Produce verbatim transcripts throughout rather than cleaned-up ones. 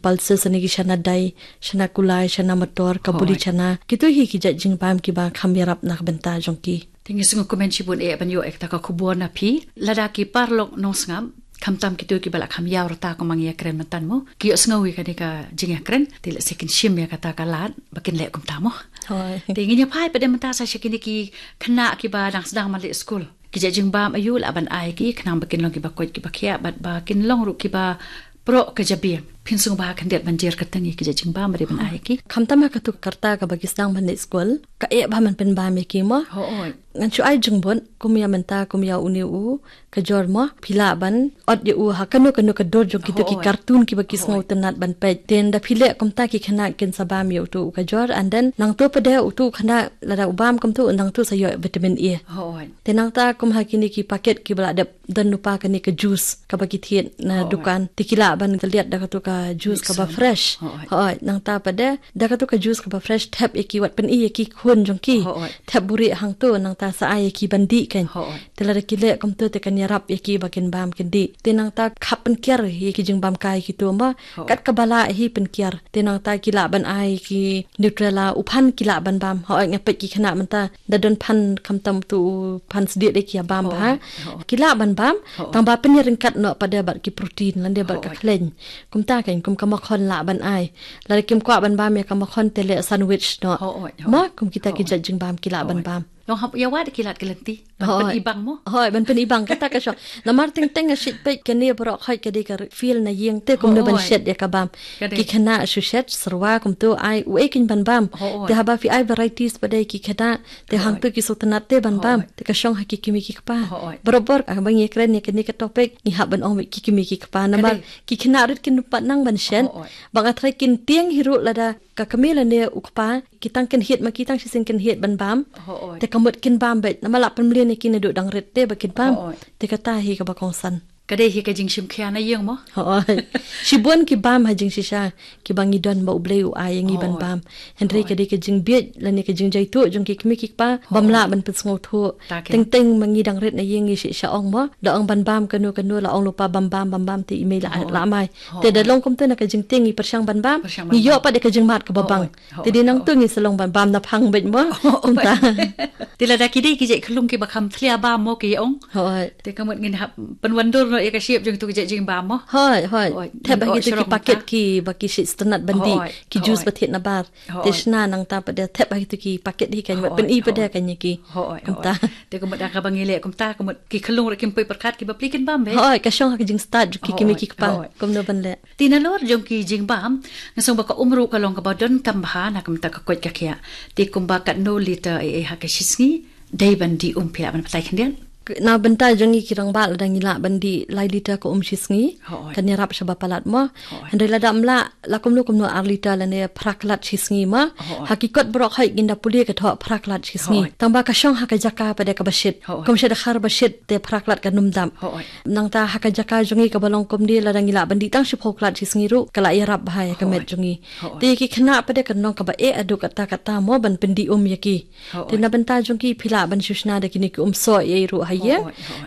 pulses, ne ki shana dai, shana kulai, shana mator, ka buli chana. Kito hi ki jait jingbam kiba kham ïarap na ka bynta jong ki. Te ngi sngewkmen shibun eh ban ïoh ïa kata ka khubor na phi. Lada ki paralok nongsngap, khamtam kito kiba la kham ïaw rta kumba ngi ïakren mynta mo, ki ïohsngew ïa kane ka jingïakren, te lehse kin shim ïa kata ka lad ba kin leh kumta mo. Hooid. Te ngin ïa phai pat de mynta sa sha kine ki khynnah kiba dang sdang ban leit skul. Ki jait jingbam aïu lah ban ai ki khnang ba kin long kiba koit kiba khiah bad ba kin long ruh kiba proh ka jabieng. Phin sngewbha khyndiat ban jer kyrteng ïa ki jait jingbam ba dei ban ai ki. Khamtam ha katu ka rta kaba ki sdang ban leit skul, ka eh bha ban pynbam ïa ki mo. Hooid. Ngan shu ai jingbun kum ïa mynta, kum ïa une u Kajor mo, phi lah ban ot ïa u ha kano kano ka dur jong kito ki cartoon kiba ki sngewtynnat ban peit. Te ynda phi leh kumta, ki khynnah kin sa bam ïa uto u Kajor, and then nangto pat de uto u khynnah lada u bam kumto, nangto sa ïoh vitamin A. Hooid. Te nangta kum ha kine ki paket kiba la dep don lypa kane ka juice kaba ki thied na dukan, te ki lah ban tylliat da kato ka juice kaba fresh. Hooid. Hooid, nangta pat de da kato ka juice kaba fresh, thep ïa ki, wat pyni ïa ki khun jong ki. Hooid. Thep buhrieh hangto, nangta sa ai ïa ki ban dih kan. Hooid. Te lada ki leh kumto te kan ïarap ïa ki ba kin bam kin dih. Te nangta khap pynkiar ïa ki jingbam kai kito mo. Hooid. Kat kaba lah hi pynkiar. Te nangta ki lah ban ai ki Nutrela, u phan ki lah ban bam. Hooid, nga peit ki khynnah mynta da don phan khamtam uto u phan sdieh de ki ïa bam bha. Hooid. Ki lah ban bam. Hooid. Tangba pynïaryngkat noh pat de bad ki protein lane bad ka khleiñ. Kumta kan, kum ka makhon lah ban ai. Lada kim kwah ban bam ïa ka makhon te leh sandwich noh. Hooid, hooid. Mo, kum kita ki jait jingbam ki lah ban bam. Long hap ïa wad ki lad ki lynti. Ban pynibang mo. Hooid, ban pynibang kata ka shong. Namar teng teng nga shait peit kane baroh khoit ka dei ka field na ïing te kumno ban shet ïa ka bam. Ki khynnah shu shet syrwa kumto, ai u ei kin ban bam. Hooid. Te haba phi ai varieties pat de ki khynnah, te hangto ki sngewtynnat te ban bam. Te ka shong ha ki kmie ki kpa. Hooid. Barabor haba ngi ïakren ïa kane ka topic, ngi hap ban ong beit ki kmie ki kpa. Namar ki khynnah ruh kin pat nang ban shet. Hooid. Ba nga tharai kin tieng hi ruh lada ka kmie lane u kpa ki tang kynhied ma ki, tang shisien kynhied ban bam. Hooid. Te ka mut kin bam beit, namar lah pynmlien ïa ki naduh dang rit te ba kin bam. Hooid. Te kata hi kaba kongsan. Ka dei hi ka jingshim khia na ïing mo. Hooid. Shibun ki bam ha jingshisha, kiba ngi don ba U Blei u ai ïa ngi ban bam. Hynrei ka dei ka jingbieit lane ka jingjaituh jong ki kmie ki kpa bym lah ban pynsngewthuh. Teng teng ma ngi dang rit na ïing ngi shisha ong mo, da ong ban bam kano kano, la ong lypa bam bam bam bam te i mei la mai. Te da long kumta na ka jingtieng ngi pyrshang ban bam, ngi ïoh pat de ka jingmad kaba bang. Te dei nangta ngi sa long ban bam na phang beit mo. Kumta. Te lada ki dei ki jait khyllung kiba kham thlia bam mo ki ong. Hooid. Te ka mut ngin hap pynwandur noh ïa ka shape jong kito ki jait jingbam mo. Hooid, hooid. Thep ha kito ki paket kiba ki sngewtynnat ban dih, ki juice ba thied na bar. Te shna nangta pat de thep ha kito ki paket hi kan, wat pyni pat de kan ïa ki. Kumta. Te ka mut da kaba ngi leh kumta, ka mut ki khyllung ruh kim poi pyrkhat, kiba plie kin bam beit. Hooid, ka shong ha ka jingstad jong ki kmie ki kpa. Kumno ban leh. Te nalor jong ki jingbam, nga sngew ba ka um ruh ka long kaba donkam bha na ka bynta ka koit ka khiah. Te kumba katno liter ei ei ha ka shisngi dei ban dih um, phi lah ban batai khyndiat? Na bynta jong ngi ki rangbah, lada ngi lah ban dih lai liter ka um shisngi, kan ïarap shaba palat mo. Hynrei lada ym lah, la kumno kumno ar liter lane phra klat shisngi mo. Ha ki kot baroh khoit ngin da pule ka thoh phra klat shisngi. Tangba ka shong ha ka jaka pat de kaba shit. Kum sha Dkhar ba shit te phra klat kan ym dap. Nangta ha ka jaka jong ngi kaba long kumne, lada ngi lah ban dih tang shiphew klat shisngi ruh ka la ïarap bha ïa ka met jong ngi. Te ki khynnah pat de kan long kaba eh haduh katta katta mo ban pyndih um ïa ki. Te na bynta jong ki phi lah ban shu shna da kine ki um soh ei ei ruh ha ïing.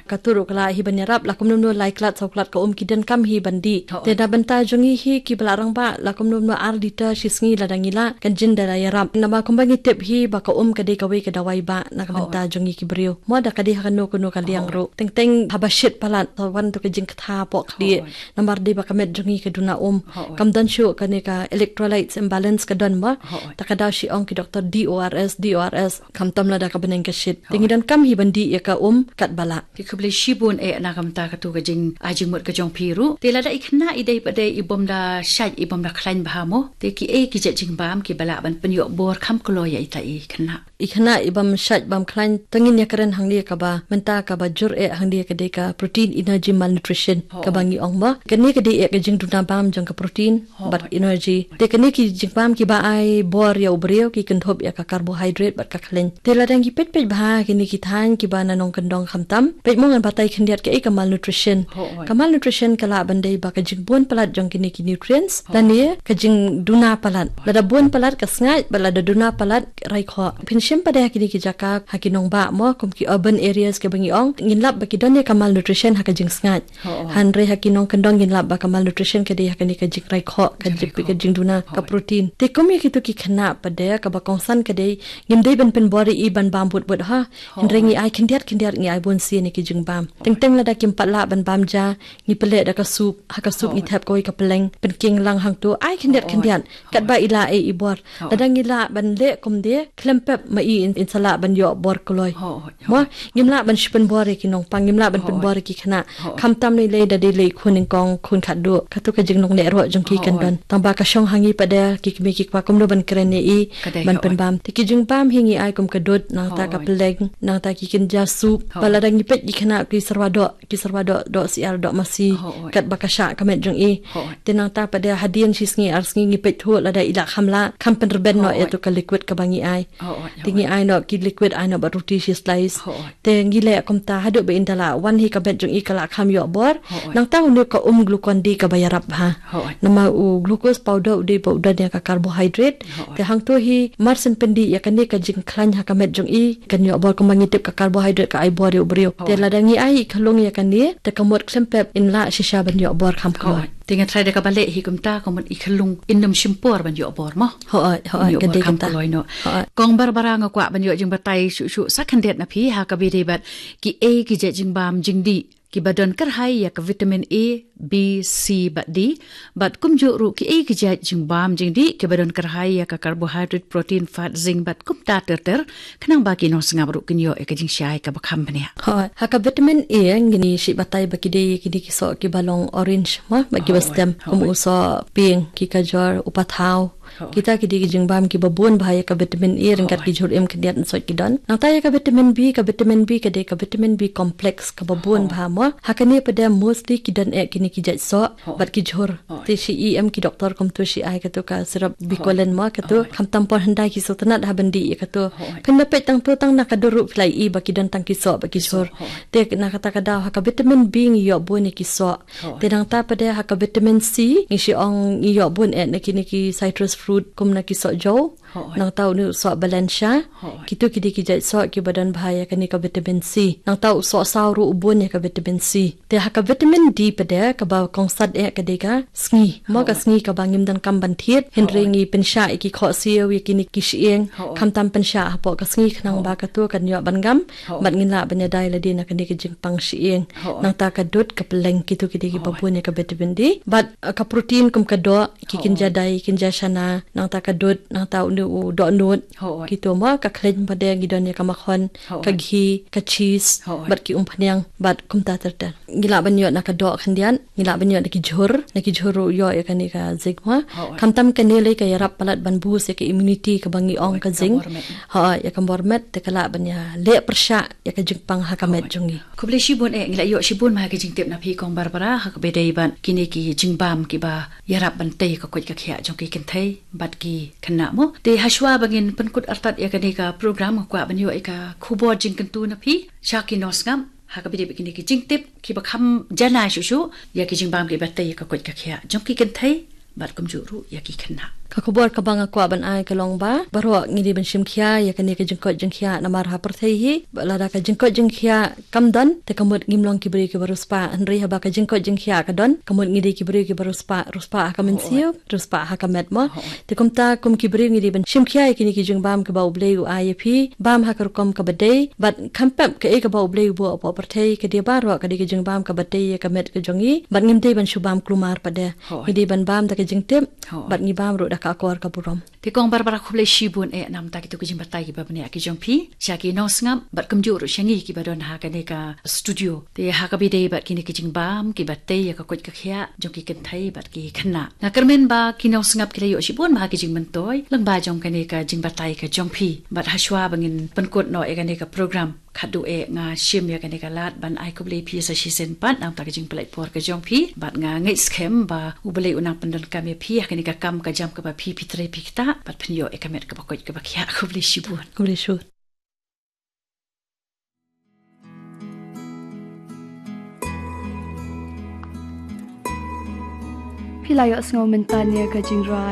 Kato ruh ka lah hi ban ïarap, la kumno kumno lai klat saw klat ka um ki donkam hi ban dih. Te na bynta jong ngi hi kiba la rangbah, la kumno kumno ar liter shisngi lada ngi lah, kan jin da la ïarap. Namar kumba ngi tip hi ba ka um ka dei kawei ka dawai bah na ka bynta jong ngi ki briew. Mo da ka dei ha kano kano ka liang ruh. Teng teng haba shit palat, sa wan to ka jingkthah poh khlieh. Namar dei ba ka met jong ngi ka duna um. Kam don shuh kane ka electrolytes imbalance ka don mo. Ta ka daw shi ong ki doktor D O R S, D O R S. Khamtam lada ka bneng ka shit. Te ngi donkam hi ban dih ïa ka um katba lah. Te khublei shibun eh na ka bynta kato ka jing, ah, jingmut ka jong phi ruh. Te lada i khynnah i dei pat de i bym da shait, i bym da khlaiñ bha mo, te kiei ki jait jingbam kiba lah ban pynïoh bor kham kloi ïa ita i khynnah? I khynnah i bym shait bym khlaiñ, to ngin ïakren hangne kaba mynta kaba jur eh hangne ka dei ka protein energy malnutrition, kaba ngi ong mo. Kane ka dei eh ka jingduna bam jong ka protein bad energy. Te kine ki jingbam kiba ai bor ïa u briew ki kynthup ïa ka carbohydrate bad ka khlaiñ. Te lada ngi peit peit bha kine ki thaiñ kiba na nongkyndong khamtam, peit mo, ngan batai khyndiat kaei ka malnutrition. Ka malnutrition ka lah ban dei ba ka jingbun palat jong kine ki nutrients lane ka jingduna palat. Lada bun palat ka sngaid bad lada duna palat rai khoh. Phin Em pat de ha kine ki jaka, ha ki nongbah mo, kum ki urban areas kiba ngi ong, ngin lap ba ki don ïa ka malnutrition ha ka jingsngaid. Hooid. Hynrei ha ki nongkyndong ngin lap ba ka malnutrition ka dei ha kane ka jingrai khoh, ka jingrai jip-, ka khoh, jingduna, ka hooid, protein. Te kum ïa kito ki khynnah pat de, kaba kongsan ka dei, ngim dei ban pynbor ïa i ban bam bud bud ha. Hynrei, hooid, ngi ai khyndiat khyndiat, ngi ai bun sien ïa ki jingbam. Teng teng lada kim pat lah ban bam ja, ngi pynleh da ka soup, ha ka soup ngi, hooid, thep kawei ka pylleng, pynkieng lang hangto, ai khyndiat, hooid, khyndiat. Katba i lah ei i bor. Hooid. Lada ngi lah ban leh kumne, khlem pep ma i in, in sa lah ban ïoh bor kloi. Hooid, hooid. Mo, ngim lah ban shu pynbor ïa ki nongpang, ngim lah ban, hooid, pynbor ïa ki khynnah. Hooid. Khamtam ne lei da dei lei khun nyngkong, khun khatduh. Kato ka jinglong leh roh jong ki kan, hooid, don. Tangba ka shong ha ngi pat de ki kmie ki kpa kumno ban kren ïa i, ka dei, ban, hooid, pynbam. Te ki jingbam hi ngi ai kum ka dud, nangta ka, hooid, pylleng, nangta ki kynja soup. Hooid. Ba lada ngi peit ki khynnah ki syrwa doh, ki syrwa doh, doh syiar, doh masi, hooid, katba ka shah ka met jong i. Hooid. Te nangta pat de hadien shi sngi ar sngi ngi peit thuh lada i la kham lah, kham pynrben noh, hooid, ïa to ka liquid kaba ngi ai. Hooid. Te ngi ai noh ki liquid, ai noh bad ruti shi slice. Hooid. Te ngi leh kumta haduh ba in da lah wan hi ka met jong i ka la kham ïoh bor. Hooid. Nangta une ka um Glucon-D kaba ïarap bha. Hooid. Namar u glucose powder u dei ba u don ïa ka carbohydrate. Hooid. Te hangto hi mar shen pyndih ïa kane ka jingkhlaiñ ha ka met jong i, kan ïoh bor kumba ngi tip ka carbohydrate ka ai bor ïa u briew. Te, hooid, lada ngi ai i khunlung ïa kane, te ka mut khlem pep in lah shisha ban ïoh bor kham kloi. Hooid. Te nga tharai da kaba leh hi kumta ka mut i khunlung in ym shim por ban ïoh bor mo. Hooid, hooid, ym ïoh ka bor dei kham kloi noh. Hooid. Kong Barbara, nga kwah ban ïoh jingbatai shuh shuh sa khyndiat na phi ha kaba ïadei bad kiei ki jait jingbam jingdih kiba don kyrhai ïa ka vitamin A, B, C bad D, bad kumjuh ruh kiei ki jait jingbam jingdih kiba don kyrhai ïa ka carbohydrate, protein, fat, zinc bad kumta ter ter, khnang ba ki nongsngap ruh kin ïoh ïa ka jingshai kaba kham bniah. Hooid. Ha ka vitamin A ngin ïa shu batai ba ki dei kine ki soh kiba long orange mo, bad kiba, hooid, stem, kum, hooid, u soh pink, ki kajor, u pathaw. Hooid. Kita ki dei ki jingbam kiba bun bha ïa ka vitamin A ryngkat, hooid, ki jhur im khyndiat, nsoh ki don. Nangta ïa ka vitamin B, ka vitamin B ka dei ka vitamin B complex kaba bun, hooid, bha mo. Ha kane pat de mostly ki don eh kine ki jait soh, hooid, bad ki jhur. Hooid. Te shi i em ki doktor kumto shi ai kato ka syrup, hooid, Bicolen mo kato. Hooid. Khamtam por hyndai ki sngewtynnat ha ban dih ïa kato. Hooid. Phin da peit tang to tang na ka dur ruh phi la i ba ki don tang ki soh bad ki jhur. Soh, hooid. Te na kata ka daw ha ka vitamin B ngi ïoh bun ïa ki soh. Hooid. Te nangta pat de ha ka vitamin C ngi shu ong ngi ïoh bun eh na kine ki citrus fruit kum na ki sohjew. Hooid. Nangta une u soh balansa. Hooid. Kito ki dei ki jait soh kiba don bha ïa kane ka vitamin C. Nangta u sohsaw ruh u bun ïa ka vitamin C. Te ha ka vitamin D pat de kaba kongsan eh ka dei ka sngi. Mo, ka, hooid, sngi kaba ngim donkam ban thied. Hynrei, hooid, ngi pynshah ïa ki khohsiew ïa kine ki shyieng. Hooid. Khamtam pynshah hapoh ka sngi khnang, hooid, ba kato kan ïoh ban gam. Hooid. Bad ngin lah ban ïada ïa lade na kane ka jingpang shyieng. Hooid. Nangta ka dud, ka pylleng, kito ki dei kiba, hooid, bun ïa ka vitamin D. Bad, uh, ka protein kum ka doh, ki, hooid, kynja dai, kynja shana, nangta ka dud, nangta une u dohnud. Hooid. Kito mo, ka khleiñ pat de ngi don ïa ka makhon, hooid, ka ghee, ka cheese, hooid, bad ki umphniang, bad kumta ter ter. Ngi lah ban ïoh na ka doh khyndiat, ngi lah ban ïoh na ki jhur, na ki jhur ruh ïoh ïa kane ka zinc mo. Hooid. Khamtam kane lei ka ïarap palat ban boost ïa ka immunity kaba ngi ong, hooid, ka, ka zinc. Bor met. Hooid, ïa ka bor met, te ka lah ban ïaleh pyrshah ïa ka jingpang ha ka met, hooid, jong ngi. Khublei shibun eh, ngi la ïoh shibun ma ha ki jingtip na phi Kong Barbara, ha kaba ïadei bad kine ki jingbam kiba ïarap ban tei ka koit ka khiah jong ki kynthei bad ki khynnah mo. Te hashwa ba ngin pynkut artat ïa kane ka program, nga kwah ban ïoh ïa ka khubor jingkyntu na phi sha ki nongsngap ha kaba ïadei bad kine ki jingtip kiba kham janai shuh shuh ïa ki jingbam kiba tei ïa ka koit ka khiah jong ki kynthei bad kumjuh ruh ïa ki khynnah. Ka khubor kaba nga kwah ban ai ka long ba baroh ngi dei ban shim khia ïa kane ka jingkoit jingkhiah namar ha pyrthei hi, ba lada ka jingkoit jingkhiah kam don, te ka mut ngim long ki briew kiba riewspah, hynrei haba ka jingkoit jingkhiah ka don, ka mut ngi dei ki briew kiba riewspah, riewspah ha ka, hooid, mynsiem, riewspah ha ka met mo. Hooid. Te kumta kum ki briew ngi dei ban shim khia ïa kine ki jingbam kiba U Blei u ai ïa phi, bam ha ka rukom kaba dei, bad kham pep kaei kaba U Blei u buh hapoh pyrthei, ka dei baroh ka dei ka jingbam kaba tei ïa ka met ka jong ngi, bad ngim dei ban shu bam kulmar pat de. Hooid. Ngi dei ban bam da ka jingtip, hooid, bad ngi bam ruh da ka akor ka burom. Te Kong Barbara khublei shibun eh namar kito ki jingbatai kiba bniah ki jong phi sha ki nongsngap bad kumjuh ruh sha ngi kiba don ha kane ka studio. Te ha kaba ïadei bad kine ki jingbam kiba tei ïa ka koit ka khiah jong ki kynthei bad ki khynnah, nga kyrmen ba ki nongsngap ki la ïoh shibun ma ha ki jingmyntoi lyngba jong kane ka jingbatai ka jong phi. Bad hashwa ba ngin pynkut noh ïa kane ka program, khadduh eh nga shim ïa kane ka lad ban ai khublei phi sa shisien pat namar ka jingpynlait por ka jong phi, bad nga ngeit skhem ba U Blei un nang pyndonkam ïa phi ha kane ka kam ka jam kaba phi, phi trei phi ktah, bad phin ïoh ïa ka met kaba koit kaba khiah. Khublei shibun. Khublei shibun. Phi la ïohsngew mynta ïa ka jingrwai